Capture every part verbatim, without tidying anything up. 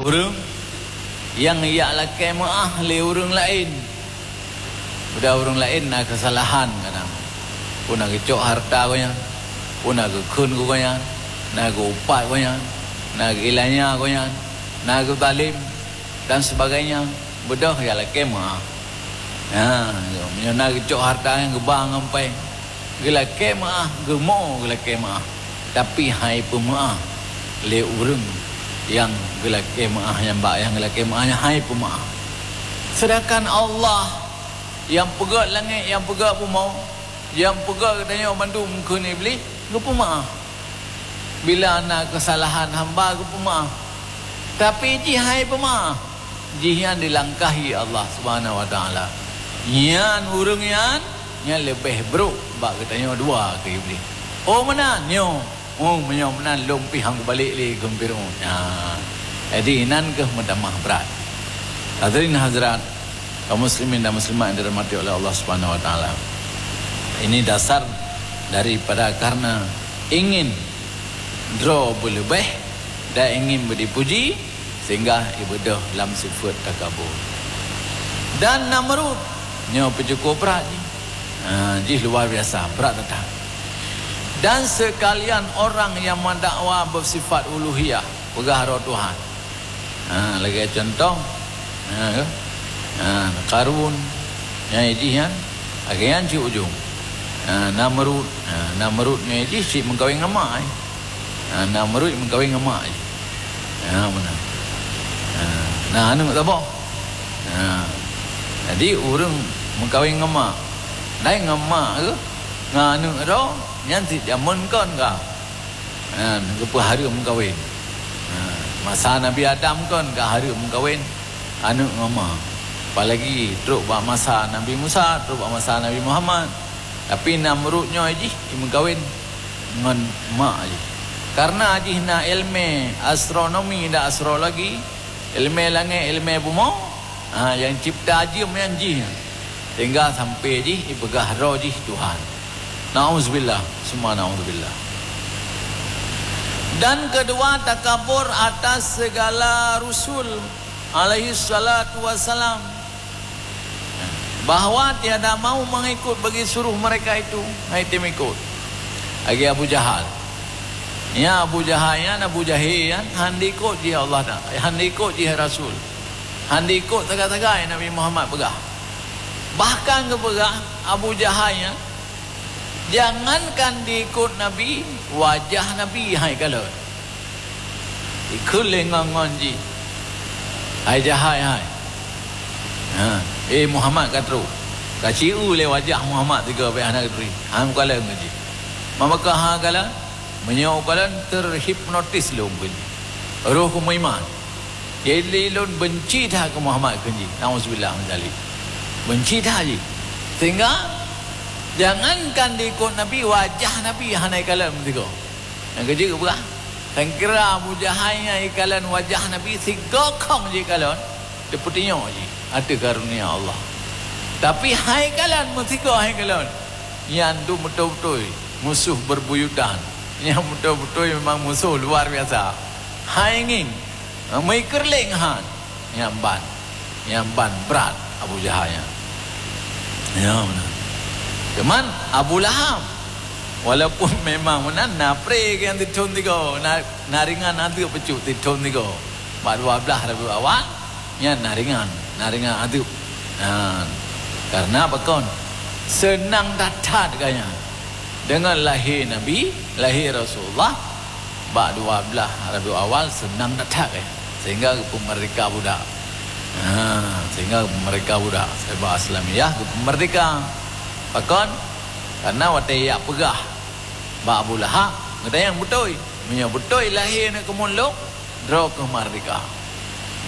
ureuëng nyang jak lakée meuáh lé ureuëng laén. Udah ureuëng laén na keusalahan kadang. Peue na geucok hareuta gobnyan, peue na geukheun gobnyan, na geuupat gobnyan, na geuilanya gobnyan, na geuzalim dan sebagainya. Beudôh jak lakée meuáh. Ha, meunyoe na geucok hareuta nyang geuba ngon péng, geulakée meuáh, geumo geulakée meuáh, tapi hai peumeuáh lé ureuëng nyang geulakée meuáh, nyang bak nyang geulakée meuáh nyan hai peumeuáh. Seudangkan Allah nyang peugét langét, nyang peugét bumoe, nyang peugét geutanyoe bandum kheun Iblih, geupeumeuáh. Bila na keusalahan hamba geupeumeuáh, tapi jih hai peumeuáh, jih nyan dilangkahi Allah Subhanahu wa Taala. Nyan ureuëng nyan, nyan leubeh brok bak geutanyoe dua keu Iblih. Oh meunan nyoe, oh meunyoe meunan lôn pih han kubalek lé keu Firaun. Nah, jadi inan keuh meutamah brat. Hadirin hadirat, kaum muslimin dan muslimat yang dirahmati oleh Allah Subhanahu wa Taala. Ini dasar daripada karena ingin droe beuleubeh dan ingin beudipuji, sehingga ibeudôh lam sifeuet takabur. Dan Namrud nyoe peucukôp brat jih. Ha, jih luar biasa, brat that. Dan sekalian orang yang mendakwa bersifat uluhiyah, peugah droe Tuhan. Ha, lagée cuntoh, ha, ha, Karun, nyang jih nyan, lagée nyan cit ujong. Ha, Namrud, ha, Namrud nyang jih cit meukawen ngon mak, eh. Ha, Namrud meukawen ngon mak jih. Ha, meunan. Ha, na aneuëk saboh. Ha, jadi ureuëng meukawen ngon mak, dai ngon mak keuh, ngon aneuëk droe, nyan cit jameun kon ka. Ha, geupeuhareuem meukawen. Ha, masa Nabi Adam kon ka hareuem meukawen aneuëk ngon ma. Apalagi trok bak masa Nabi Musa, trok bak masa Nabi Muhammad. Tapi Namrud nyoe jih meukawen ngon mak jih. Karena jih na ilmu astronomi dan astrologi, ilmu langét, ilmu bumoe, ha, nyang cipta jeuem nyan jih. Sehingga sampai jih ipeugah droe jih Tuhan. Nauzubillah, summa nauzubillah. Dan kedua, takabur atas segala rusul alaihi salatu wassalam, bahwa tiada mau mengikut bagi suruh mereka itu, hai tem ikut. Lagi Abu Jahal. Ya, Abu Jahal nyan, Abu Jahil nyan, han diikot jih Allah Taala, han diikot jih Rasul. Han diikot sagai-sagai Nabi Muhammad peugah. Bahkan geupeugah Abu Jahal nyan, jangankan diikot Nabi, wajah Nabi hai kalon. Ikheun lé ngon-ngon jih. Hai Jahal hai. Ha, eh Muhammad ka trok. Ka cieu lé wajah Muhammad tiga pih hana geuturi. Han kalon ngon jih. Maka ha kalon, meunyoe kalon terhipnotis lôn keu jih. Roh keu meuiman. Jadi lôn benci that keu Muhammad keu jih. Nauzubillah min zalik. Benci that jih. Sehingga jangankan diikot Nabi, wajah Nabi hana ikalon meusigoe. Nyang keujeuet peugah, sangkira Abu Jahal nyan ikalon wajah Nabi sigoe khong jih kalon, teupeutunyok jih ateueh karunia Allah. Tapi hai kalon meusigoe hai kalon, nyan tu beutôi-beutôi musoh beubuyutan. Nyan beutôi-beutôi memang musoh luar biasa. Hai ngieng, meuikeurleng han. Nyan ban, nyan ban brat Abu Jahal nyan. Ya, meunan. Cuman Abu Lahab, walaupun memang meunan na pre nyang teuthon tiga, na, na ringan ateuk peucuk teuthon tiga. Bak dua belas Rabiul Awal, nyan na ringan, na ringan ateuk. Nah, karena pakon? Seunang that-that gobnyan. Deungon lahé Nabi, lahé Rasulullah, bak dua belas Rabiul Awal seunang that-that, eh. Sehingga geupeumeurdeka budak. Ha, sehingga geupeumeurdeka budak. Sabab Islamiyah geupeumeurdeka. Pakon? Karena watée jak peugah bak Abu Lahab, geutanyong beutôi. Meunyoe beutôi lahé aneuëk keumun lôn, droe keuh meurdeka.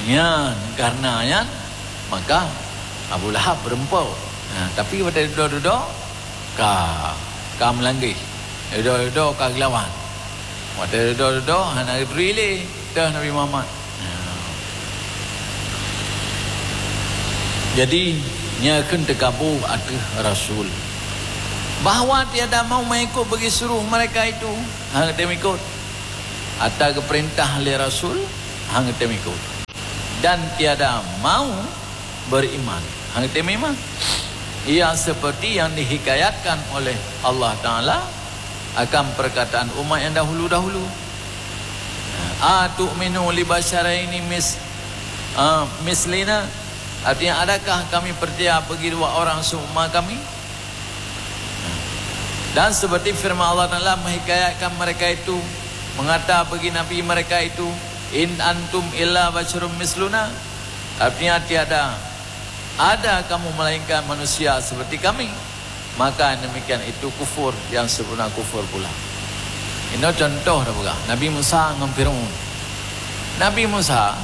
Nyan, karena nyan, maka Abu Lahab beureumpok. Ha, tapi watée dudoe-dudoe, ka, ka meulanggeh. Dudoe-dudoe ka geulawan. Watée dudoe-dudoe, hana geuturi lé, teuh Nabi Muhammad. Ha. Jadi, nyan kheun teukabô ateueh Rasul. Bahwa tiada mau mengikut bagi suruh mereka itu, hana tem ikot. Ata geupeurintah lé Rasul, han geutem ikot. dan tiada mau beriman. Hana teurimong iman. Ia seperti yang dihikayatkan oleh Allah Ta'ala akan perkataan umat yang dahulu-dahulu. "Atu'minu li basyaraini mis-, ah, mislina?" Artinya, adakah kami percaya bagi dua orang seumma kami? Dan seperti firman Allah Ta'ala menghikayatkan mereka itu, mengata bagi Nabi mereka itu, "In antum illa basyarum misluna." Artinya, tiada ada kamu melainkan manusia seperti kami. Maka demikian itu kufur yang sebenar kufur pula. Inoe contoh dah peugah, Nabi Musa ngon Firaun. Nabi Musa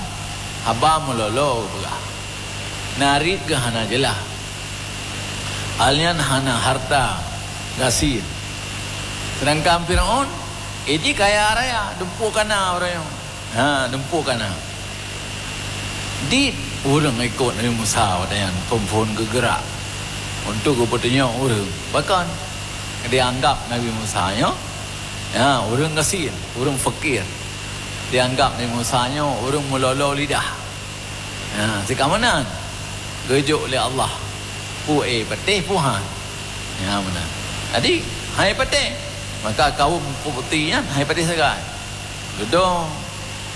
haba meulolo peugah. Narit geuh hana jeulaih. Alnyan hana harta gasien. Sedangkan Firaun, iji kaya raya, dumpeue kana ureuëng nyoe. Ha, dumpeue kana. Di ureuëng ikot Nabi Musa watée nyan phon-phon geugeurak untuk geupeutunyok ureuëng. Pakon? Dianggap Nabi Musa nyoe, ya, ureuëng gasien, ureuëng fakir. Dianggap Nabi Musa nyoe ureuëng meulolo lidah. Ha, sikamonan geujok lé Allah. Peue, eh, patéh, peue han. Ya, meunan. Jadi, hai patéh. Maka kaum Qibti nyan hai patéh sagai. Dudoe,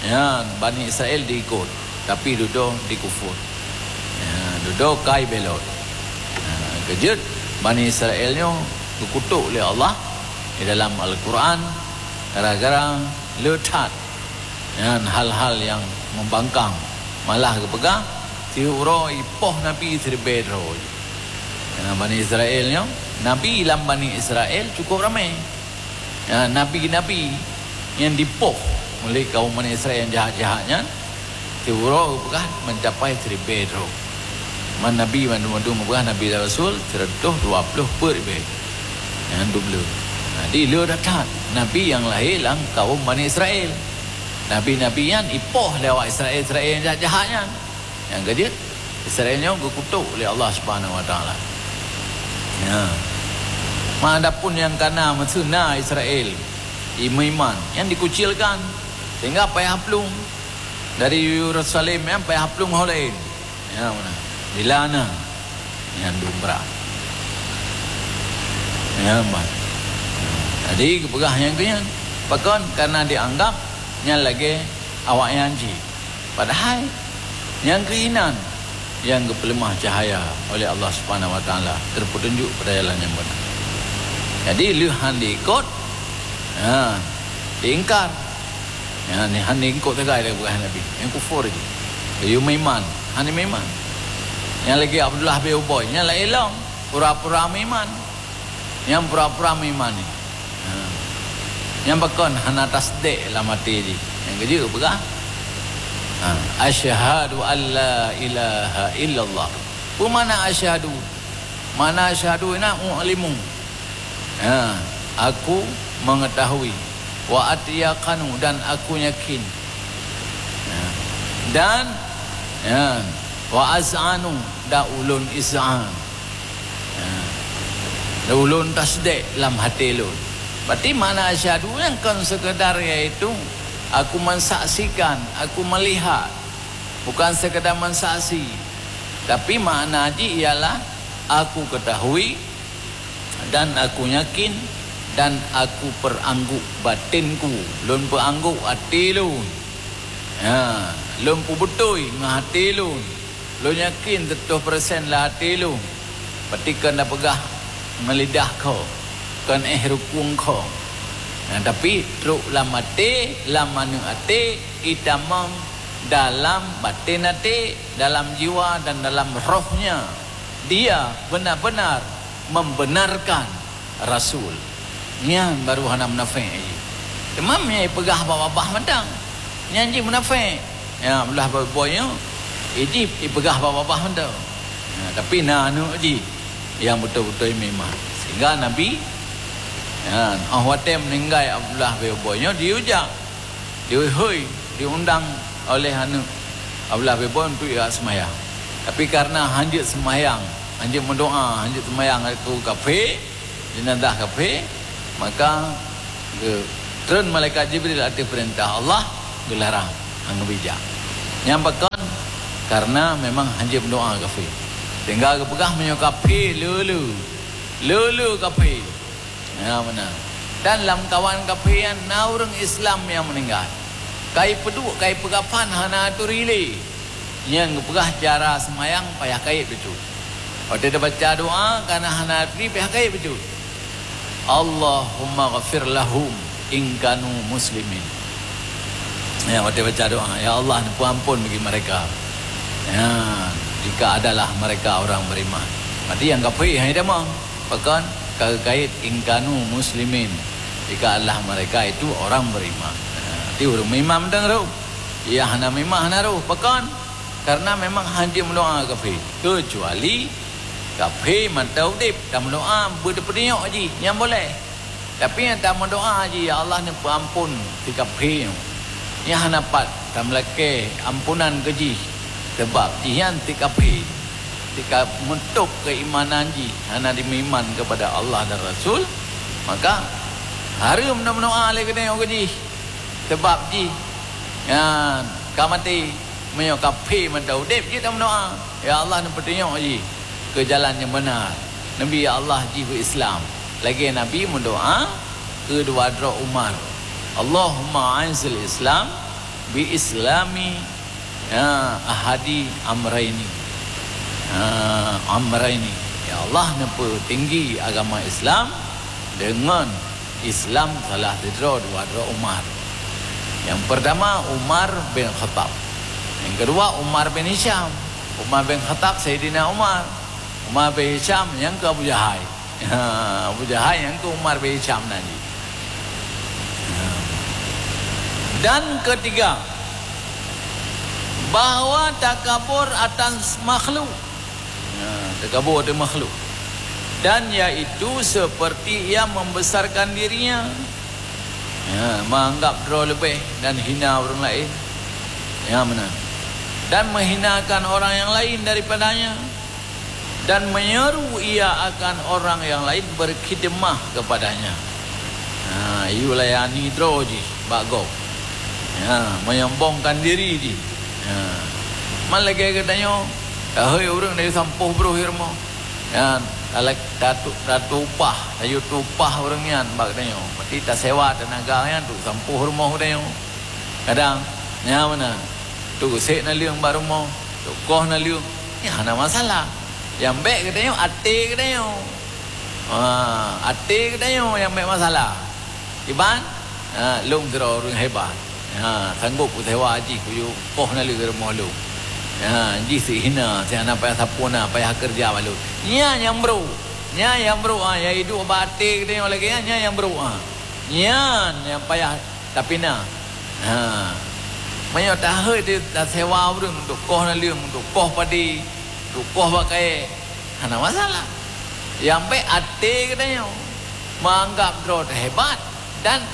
ya, Bani Israel diikot, tapi dudoe dikufur. Ya, dudoe kai belot. Ya, keujeuet Bani Israel nyoe geukutok lé Allah di dalam Al-Quran gara-gara le that. Nyan hal-hal nyang membangkang. Malah geupeugah, "Siuroe ipoh nabi siribée droe." Ya, Bani Israel nyoe, nabi lam Bani Israel cukup ramé. Ya, nabi-nabi nyang dipoh oleh kaum Bani Israel nyang jahat-jahat nyan, siuroe geupeugah mencapai siribée droe. Man nabi mandum-mandum geupeugah nabi dan rasul siratoh dua ploh peuet ribée. Nyan dubleue. Jadi, le that-that nabi nyang lahé lam kaum Bani Israel. Nabi-nabi nyan ipoh lé awak Israel-Israel nyang jahat-jahat nyan. Nyang keujeuet, Israel nyoe geukutok lé Allah Subhanahu Wa Taala. Ya. Adapun nyang kana meuseuna Israel, i-, meuiman, nyan dikucilkan sehingga payah plueng. Dari Yerusalem nyan payah plueng ho laén. Ya, meunan. Dilana. Nyan dum brat. Ya, meunan. Jadi, geupeugah nyang keu nyan. Pakon? Karena dianggap nyan lagée awaknyan jih. Padahai, nyang keuh inan nyang geupeuleumah cahya oleh Allah Subhanahu Wa Taala, terpetunjuk pada jalan nyang beuna. Jadi, lheueh han diikot, ha, diingkar. Ya, ni han diikot sagai lagée peugah Nabi. Nyang kufur jih. Geuyue meuiman, han meuiman. Nyang lagée Abdullah bin Ubay, nyan laén lom, pura-pura meuiman. Nyang pura-pura meuiman nyan. Ha. Nyang pakon hana tasdek lam até jih. Nyang keujeuet peugah, ha, "Asyhadu an la ilaha illallah." Peue makna asyhadu? Makna asyhadu na u'limu. Ha, aku mengetahui. Wa atyaqanu, dan aku yakin. Ha. Dan, ya, wa az'anu, dan ulôn iz'an. Ha. Ulôn tasdek lam até lôn. Berarti makna asyhadu nyan kon sekadar, yaitu aku mensaksikan, aku melihat. Bukan sekadar mensaksi. Tapi makna jih ialah aku ketahui dan aku yakin dan aku perangguk batinku. Lôn peuangguk até lôn. Ha, lôn peubeutôi ngon até lôn. Lôn yakin siratoh persen lam até lôn, pati kon tapeugah ngon lidah kho, kon éh rukung kho. Nah, tapi trok lam até, lam aneuk até, itamong dalam baten até, dalam jiwa dan dalam rohnya. Dia benar-benar membenarkan Rasul. Nyan baru hana munafék jih. Teuma meunyo ipeugah bak babah mantong, nyan jih munafék. Ya, blah boy nyoe, jih ipeugah bak babah mantong. Ya, tapi na aneuk jih nyang beutôi-beutôi meuiman. Sehingga Nabi, ya, óh watée meuninggai Abdullah bin Ubay nyoe, diuja, diuhôi, diundang oleh aneuk Abdullah bin Ubay untuk ia seumayang. Tapi karena hanjeuet seumayang, hanjeuet meudoa, hanjeuet seumayang, aku kafé, jenazah kafé, maka geutreun malaikat Jibril ateueh peurintah Allah, geularang, han geubri jak. Nyang pakon, Karena memang hanjeuet meudoa kafé. Sehingga geupeugah meunyoe kafé, le-le. Le-le kafé. Ya, meunan. Dan lamkawan kafé nyan na ureuëng Islam nyang meuninggai. Ka ipeuduek, ka ipeukafan hana aturi lé. Nyang geupeugah cara seumayang payah kayèe bacut. Watèe tabaca doa, kana hana aturi payah kayèe bacut. Allahummaghfir lahum in kanu muslimin. Ya, watèe baca doa, "Ya Allah, neupeuampon bagi mereka, ya, jika adalah mereka orang beriman." Berarti nyang kafé hana tamong. Pakon? Ka geukait "in kanu muslimin", jika adalah mereka itu orang beriman. Ya, berarti ureuëng meuiman mantong roh. Nyang hana meuiman hana roh. Pakon? Karena memang hanjeuet meudoa kafé. Keucuali kafé mantong udép, tameudoa beuteupeudiyok jih, nyan boleh. Tapi nyang tameudoa jih, "Ya Allah, neupeuampon si kafé nyoe." Nyan hana pat tameulakèe amponan keu jih, sabab jih nyan si kafé. Tika meutôb keuimanan jih, hana jimeuiman keupada Allah dan Rasul, maka hareuem tameudoa lé geutanyoe keu jih. Sabab jih nyan ka maté. Meunyoe kafé mantong udép, jeuet tameudoa, "Ya Allah, neupeutunyok jih keu jalan nyang beuna." Neubi, "Ya Allah, jih beu Islam." Lagèe Nabi meudoa keu dua droe Umar, "Allahumma a'izzil Islam bi islami, ya, ahadi amraini." Ya, amraini. Ya Allah, neupeutinggi agama Islam deungon Islam salah sidroe dua droe Umar. Nyang peurtama Umar bin Khattab. Nyang keudua Umar bin Hisham. Umar bin Khattab Saidina Umar. Umar bin Hisham nyang keu Abu Jahai. Ha, Abu Jahai nyang keu Umar bin Hisham nan jih. Ha. Dan ketiga, bahwa takabur atas makhluk. Ya, takabur di makhluk. Dan yaitu seperti ia membesarkan dirinya. Ya, menganggap droe leubeh dan hina ureuëng laén. Ya, meunan. Dan menghinakan orang yang lain daripadanya. Dan menyeru ia akan orang yang lain berkhidmah kepadanya. Ha, yue layani droe jih bak gob. Ya, menyombongkan diri jih. Ya. Man lagèe geutanyoe, tahôi ureuëng dari sampôh broh i rumoh. Ya, talak-, tatu-, tatuupah, tayue tuupah ureuëng nyan bak geutanyoe. Berarti tasewa tenaga nyan untuk sampôh rumoh geutanyoe. Kadang, nyan meunan. Untuk sek naleueng bak rumoh, untuk koh naleueng, nyan hana masalah. Nyang bèk geutanyoe, até geutanyoe. Ha, até geutanyoe nyang bèk masalah. Iban, ha, lôn sidroe ureuëng hebat. Ha, sanggôp kusewa jih kuyue koh naleueng rumoh lôn. Ha, jih si hina, si hana payah sapeue na, payah keureuja bak lôn. Nyan nyang brôk. Nyan nyang brôk, ha, nyang iduek bak até geutanyoe lagèe nyan, nyan nyang brôk, ha. Nyan nyang payah tapina. Ha. Meunyoe tahôi di tasewa ureuëng untuk koh naleueng, untuk koh padé, untuk koh bak kayèe, hana masalah. Nyang bèk até geutanyoe, menganggap droe teuhebat dan,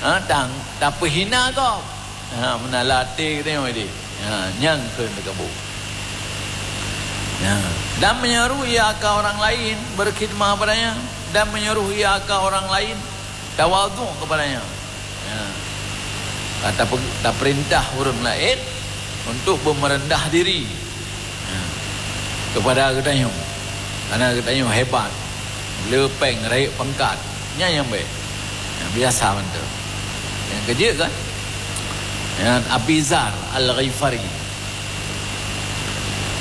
ha, tang tapeuhina gob. Ha, meunan lam até geutanyoe deh. Ha, nyan kheun takabur. Ya. Dan menyuruh ia akan orang lain berkhidmah padanya, dan menyuruh ia akan orang lain tawadhu kepadanya. Ya. Ka tape-, tapeurintah ureuëng laén untuk beumeureudah diri, ya, kepada geutanyoe. Karena geutanyoe hebat, le péng, rayeuk pangkat. Nyan nyang bèk. Nyang biasa mantong. Nyang keujeuet kan? Nyan Abi Dzar Al-Ghifari.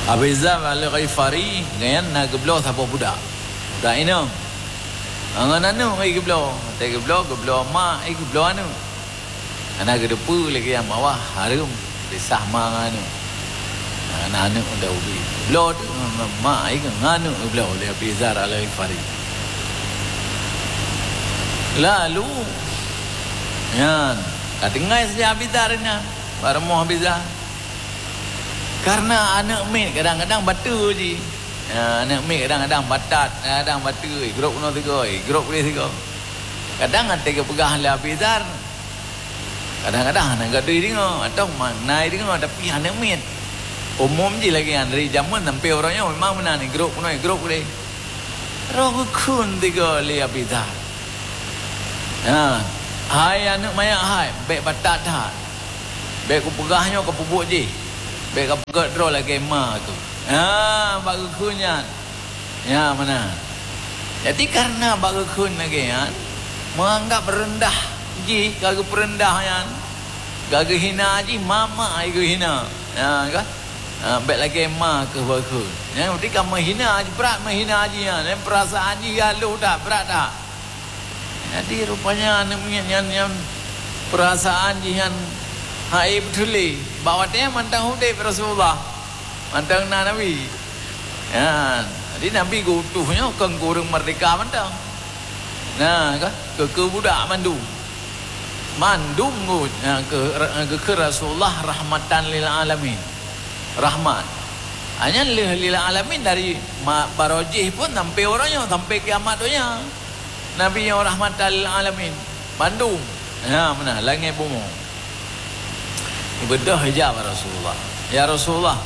Abi Dzar Al-Ghifari nyan na geubloe saboh budak. Budak inong. Ngon aneuk ai geubloe. Watèe geubloe, geubloe mak, ai geubloe aneuk. Hana geuteupeue lé nyang mawah hareuem kisah ma ngon aneuk. Ngon aneuk Daudi. Geubloe teuk ngon mak ai ngon aneuk geubloe lé Abi Dzar Al-Ghifari. Lalu, nyan, ka tinggai saja Abi Dzar nyan, bak rumoh Abi Dzar. Karena aneuk miet kadang-kadang bateue jih. Ya, aneuk miet kadang-kadang batat, kadang-kadang bateue, grob keunoe sigoe, grob keunoe sigoe. Kadang watèe geupeugah lé Abi Dzar, kadang-kadang hana geudeungoe, atau ma-, na deungoe, tapi aneuk miet. Umum jih lagèe nyan, dari jameun sampai uroe nyoe memang meunan, grob keunoe, grob keunoe. Roh geukheun sigoe lé Abi Dzar. Ha, hai aneuk manyak hai, bèk batat that. Bèk kupeugah nyoe keu peubuet jih. Bèk kapeugèt droe lagèe ma keuh. Ha, bak geukheun nyan. Nyan meunan. Jadi, kareuna bak geukheun lagèe nyan, meuanggab reundah jih, ka geupeureundah nyan, ka geuhina jih, ma-ma ai geuhina. Nyan ka? Ha, bèk lagèe ma keuh bak geukheun. Nyan berarti ka meuhina jih, brat meuhina jih nyan. Nyan peurasaan jih ka lhôh that, brat that. Jadi, rupanya aneuk miet nyan, nyan peurasaan jih nyan han ék beutôi lé. Bak watèe nyan mantong udép Rasulullah, mantong na Nabi. Nyan, jadi Nabi geutuh nyoe kon keu ureueng meurdeka mantong. Na, ka? Keu, keu budak mandum. Mandum ngon, nyan keu, keu Rasulullah rahmatan lil alamin. Rahmat. Hanya lil, lil alamin dari ma-, barojih pun sampai uroe nyoe, sampai kiamat donya. Nabi nyoe rahmatan lil alamin. Mandum. Ha, meunan, langèt bumoe. Beudôh ija bak Rasulullah. "Ya Rasulullah,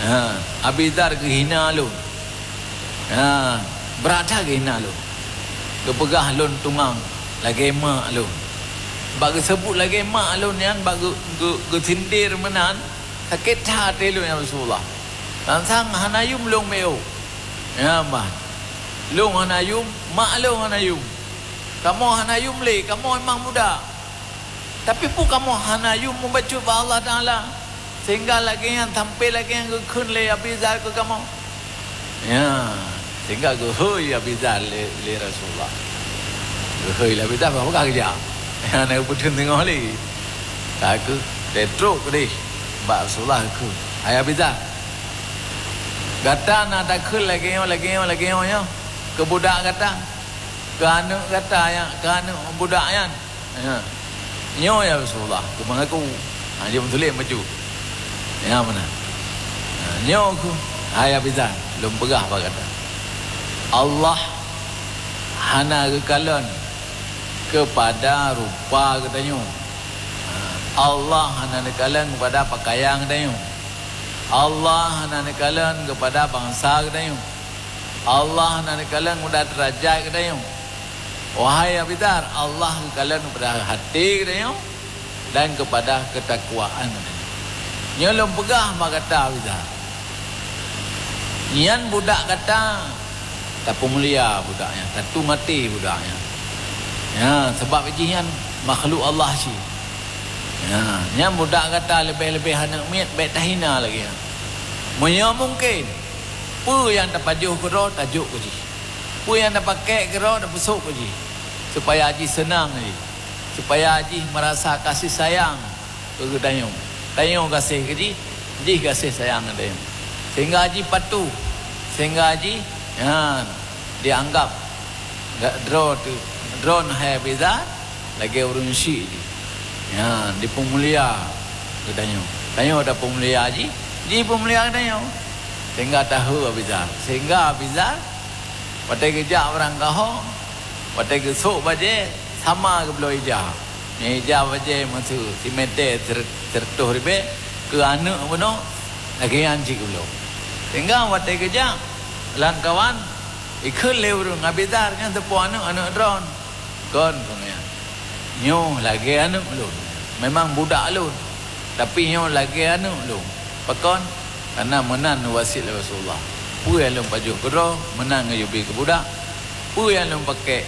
ha, Abi Dzar geuhina lôn. Ha, brat that geuhina lôn. Geupeugah lôn tungang lagèe mak lôn. Bak geuseubut lagèe mak lôn nyan, bak geu-, geu-, geusindir meunan, sakét that até lôn, ya Rasulullah. Sang-sang hana yum lôn meu'oh. Ya, bah. Lôn hana yum, mak lôn hana yum. Kamoe hana yum lé, kamoe memang budak." Tapi peue kamoe hana yum mubacut bak Allah Taala, sehingga lagèe nyan, sampai lagèe nyan geukheun lé Abi Dzar keu kamoe? Ya, sehingga geuhôi Abi Dzar lé, lé Rasulullah. Geuhôi lé Abi Dzar, bah peugah geujak. Hana geupeutheun teungoh lé. Ka keuh, trok keudeh bak Rasulullah geukheun, "Hai Abi Dzar, gata na takheun lagèe nyoe, lagèe nyoe, lagèe nyoe nyoe keu budak gata, keu aneuk gata nyan, keu aneuk budak nyan?" "Ya. Nyoe, ya Rasulullah, keu mangaku." Ha, jeuet meutulék bacut. Ya, meunan. Ha, nyoe keuh, hai Abi Dzar, lôn peugah bak gata. Allah hana geukalon keupada rupa geutanyoe. Ha, Allah hana neukalon keupada pakaian geutanyoe. Allah hana neukalon keupada bansa geutanyoe. Allah hana neukalon keupada deurajat geutanyoe. Wahai Abi Dzar, Allah geukalon keupada até geutanyoe dan keupada keutakwaan geutanyoe. Nyoe lôn peugah bak gata, Abi Dzar. Nyan budak gata, tapeumulia budak nyan, tatueng até budak nyan. Ya, sabab jih nyan makhluk Allah cit. Ya, nyan budak gata leubeh-leubeh aneuk miet bèk tahina lagèe nyan. Meunyoe mungken, peue nyang tapajoh keudroe, tajok keu jih. Peue nyang tapakék keudroe, tapeusok keu jih, supaya jih seunang jih, supaya jih meurasa kasih sayang keu geutanyoe. Tanyoe gaséh keu jih, jih gaséh sayang keu tanyoe. Sehingga jih patuh, sehingga jih, nyan, dianggap droe teu-, droeneuh hai Abi Dzar lagèe ureueng syik jih. Nyan, dipeumulia geutanyoe. Tanyoe tapeumulia jih, jih peumulia geutanyoe. Sehingga tahô Abi Dzar. Sehingga Abi Dzar, watèe geujak barangkaho, watèe geusok bajèe, sama geubloe ija. Nyan ija bajèe meusu simètè sire-, sireutôh ribèe, keu aneuk bunoe, lagèe nyan cit geubloe. Sehingga watèe geujak, lam kawan, ikheun lé ureueng, "Abi Dzar, nyan teupeue aneuk, aneuk droen." "Kon," kheun nyan. "Nyoe lagèe aneuk lôn. Memang budak lôn, tapi nyoe lagèe aneuk lôn." Pakon? Karena meunan wasiet lé Rasulullah. Peue nyang lôn pajoh keudroe, meunan geuyue bi keu budak. Peue nyang lôn pakék,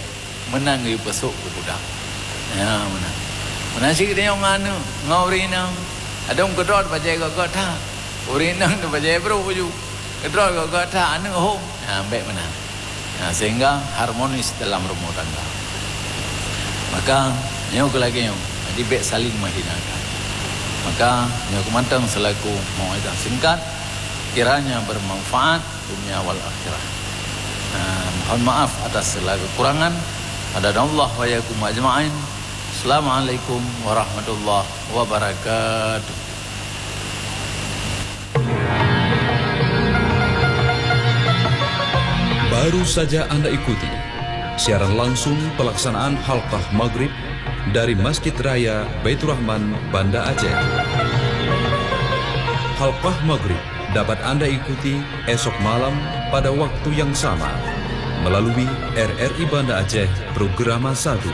meunan geuyue peusok keu budak. Ya, meunan. Meunan cit geutanyoe ngon aneuk, ngon ureueng inong. Ladôm keudroe bajèe gét-gét that. Ureueng inong bajèe brôk ju. Keudroe gét-gét that, aneuk hom. Nah, bèk meunan. Nah, sehingga harmonis dalam rumah tangga. Maka, nyoe keuh lagèe nyoe, jadi bèk saling menghinakan. Maka, nyoe keuh mantong selaku mau'izah singkat, kiranya bermanfaat dunia wal akhirah. Nah, mohon maaf atas segala kekurangan. Hadanallah wa iyyakum ajma'in. Assalamualaikum warahmatullahi wabarakatuh. Baru saja Anda ikuti siaran langsung pelaksanaan Halqah Maghrib dari Masjid Raya Baiturrahman, Banda Aceh. Halqah Maghrib dapat Anda ikuti esok malam pada waktu yang sama melalui R R I Banda Aceh Programa satu.